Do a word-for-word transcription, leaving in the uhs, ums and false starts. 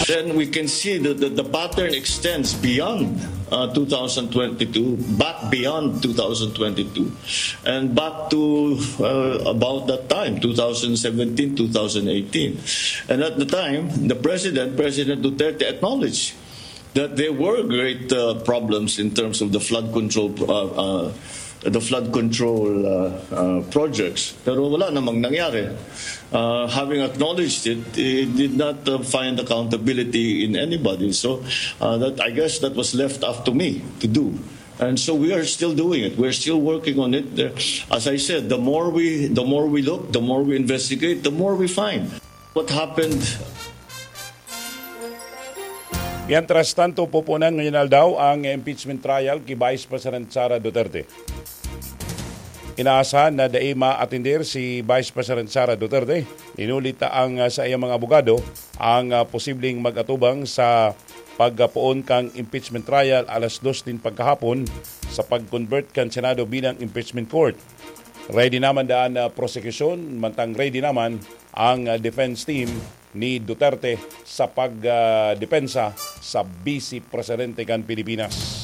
Then we can see that the, the pattern extends beyond uh, two thousand twenty-two, back beyond two thousand twenty-two, and back to uh, about that time, two thousand seventeen, two thousand eighteen. And at the time, the president, President Duterte, acknowledged that there were great uh, problems in terms of the flood control uh, uh, the flood control uh, uh, projects. Pero wala namang nangyari. Uh, having acknowledged it, it did not uh, find accountability in anybody. So uh, that I guess that was left up to me to do. And so we are still doing it. We're still working on it. There, as I said, the more we the more we look, the more we investigate, the more we find. What happened Mientras tanto, pupunan ngayon aldaw ang impeachment trial ki Vice President Sara Duterte. Inaasahan na dai maatender si Vice President Sara Duterte. Inulit ang uh, sa iyang mga abogado ang uh, posibleng mag-atubang sa pagpoon kan impeachment trial alas dos nin pagkahapon sa pag-convert kan Senado bilang impeachment court. Ready naman daan na uh, prosekusyon, mantang ready naman ang uh, defense team ni Duterte sa pagdepensa uh, sa Vice Presidente kan Pilipinas.